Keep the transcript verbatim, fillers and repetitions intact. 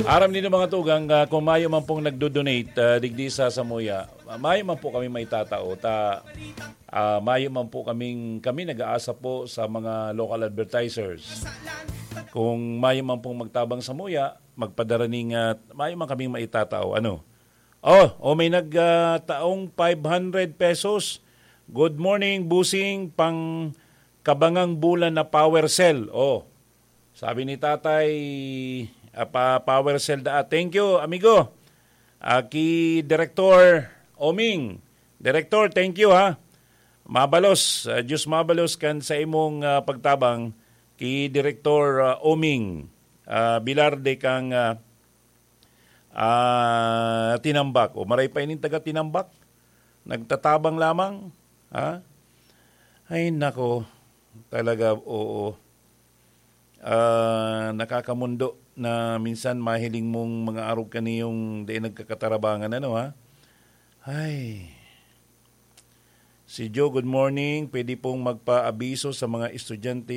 Aram nindo, mga tugang, ah, kung mayo man pong nagdo-donate, ah, digdi sa samuya, ah, mayo man po kami maitatao. Ta, ah, mayo man po kaming, kami nag-aasa po sa mga local advertisers. Kung mayo man pong magtabang samuya, magpadara ning, ah, mayo man kaming maitatao. Ano? Oh, oh, may nag, ah, taong five hundred pesos. "Good morning, Bossing, pang kabangang bulan na power cell." Oh, sabi ni Tatay, ah, pa, power cell da. Thank you, amigo. Ah, ki Direktor Oming. Direktor, thank you, ha. Mabalos, ah, Diyos mabalos kan sa imong, ah, pagtabang ki Direktor, ah, Oming, ah, Bilarde kang, ah, ah, Tinambak. O maray pa ining taga Tinambak. Nagtatabang lamang, ha? Ay, nako. Talaga, oo. Ah, nakakamundo na minsan mahiling mong mga arog kaniyong dai nagkakatarabangan, ano, ha? Ay. Si Joe, good morning. Pwede pong magpaabiso sa mga estudyante